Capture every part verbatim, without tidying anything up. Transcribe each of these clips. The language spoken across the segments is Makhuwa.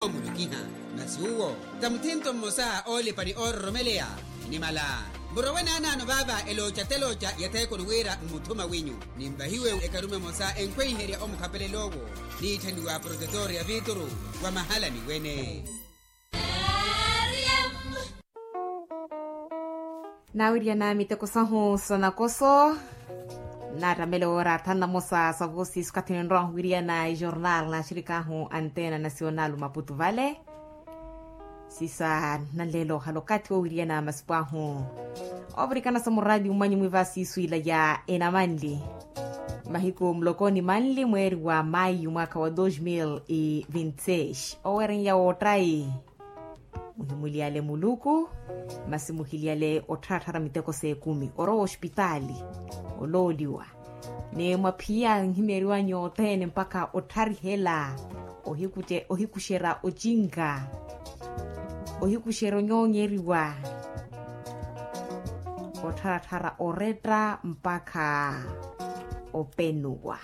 Mulukiha. Masi uwo ta muthinto mmosa oolipa ni oororomeleya. Nimala murowe naanaano vaava elooca telooca ya theekoni wira mmuthuma wenyu. Nimvahiwe ekarume emosa enkhweiherya omukhapelel'owo. Niitthaniwa protetor ya vituru wa mahalani wene. Naawiriyana miteko sahu sa nakoso. Naatamele woora thanu namosa sa vosi sukathi ninrowahu wiriyana ejornal na axirik'ahu antena nasional maputu vale. Sisa nanleelo ohala okathi woowiriyana masipu ahu. Ovirikana sa muraati mwanyu mwiva siisu ila ya enamanli. Mahiku muloko ni manli mweeri wa mayu mwaakha wa dos mil e vinte seis owereya woottayi. Muhimuliyale muluku. Masi muhiliyale ottharattharya miteko s'ekumi orowa ospitaali. Olooliwa. Ni mwaphiya nhimyeriwanyu othene mpakha ottharihela. Ohikuxerya ocinka. Ohikuxerya onyoonyeriwa. Ottharatthara oretta mpakha openuwa.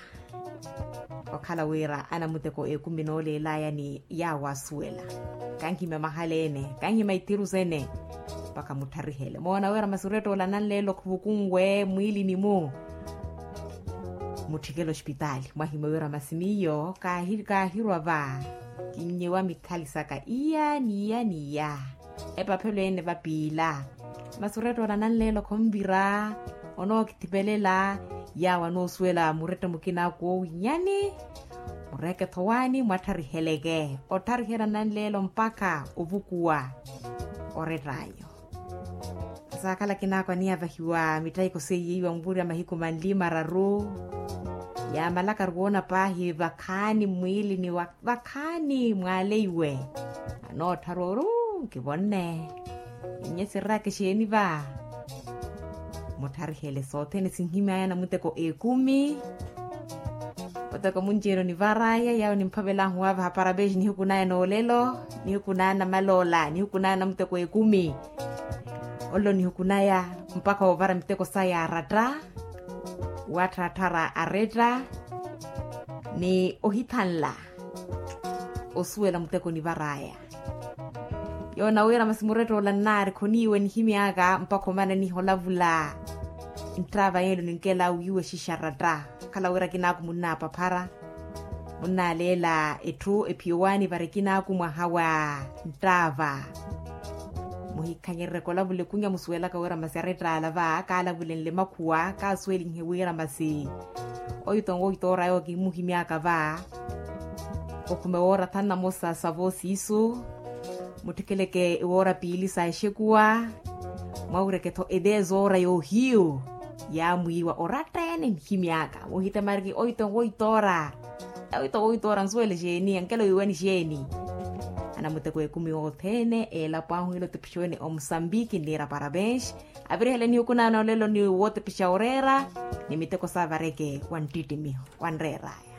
Okhala wira anamuteko ekumi nooleelaya ni yaawo asuwela. Kanhimya mahala ene kanhimya ithiru sene. Mpakha muttharihele moona wira masi oretta ola nanleelo khuvukunwe mwiilini-mu. Mutthikele ospitaali mwahimya wira masi miyo kaahirwa va. Kinnyewa mikhali saka iya ni iya ni iya. Epaphelo ene vapiila. Masi oretta ola nanleelo khonvira. Onookithipelela. Yaawo anoosuwela muretta mukina koowinyani. Mureeke thowaani mwatthariheleke ottharihela nanleelo mpakha ovukuwa. Orett'anyu. Saakhala kinaako aniyavahiwa mitthahiko seiye iwa muvurya mahiku manli mararu. Yaamalakaru woona paahi vakhaani mmwiilini wa vakhaani mwaaleiwe. Anoottharwa ori uu nkivonne. Inye sirraka exeeni va. Muttharihele sothene sinhimy'aya namuteko ekumi. Oteko munci-ene onivar'aya yaawo nimphavel'ahu waavaha parabesi nihiku n'aya n'olelo. Nihiku n'aya namaloola nihiku n'aya namuteko ekumi. Olelo nihiku n'aya mpakha woovara miteko saya aratta. Wattharatthara aretta. Ni ohithanla osuwela muteko onivar'aya. Yoona wira masi muretta ola nnaari khoniiwe nihimy'aka mpakha omana niholavula. Nttava yelo ninkel'awe wiiwe xixaratta. Okhala wira kinaaku munnaapaphara. Munnaaleela etthu ephiyowaani vari kinaaku mwaha wa nttava. Muhikhanyerereke olavula ekunya musuwelaka wira masi arettaala va kaalavulenle makhuwa kaasuwelinhe wira masi. Oito woito oraya okimuhimyaka va. Okhume woora thanu namosa sa voosiisu. Mutthikeleke ewoora piili sa exekuwa. Mwawireke-tho edezoora yoohiyu. Yaamwiiwa oratta-ene nihimyaka muhitemariki oito woito ora. Oito woito ora nsuwele xeeni ankelo wiiwani xeeni. Anamuteko ekumi othene eelapo ahu ila otepixoni omusambiki nniira parabens. Avirihele nihuku naana olelo ni wotepixa oreera. Ni miteko saavareke wa nttittimiho wa nreeraya.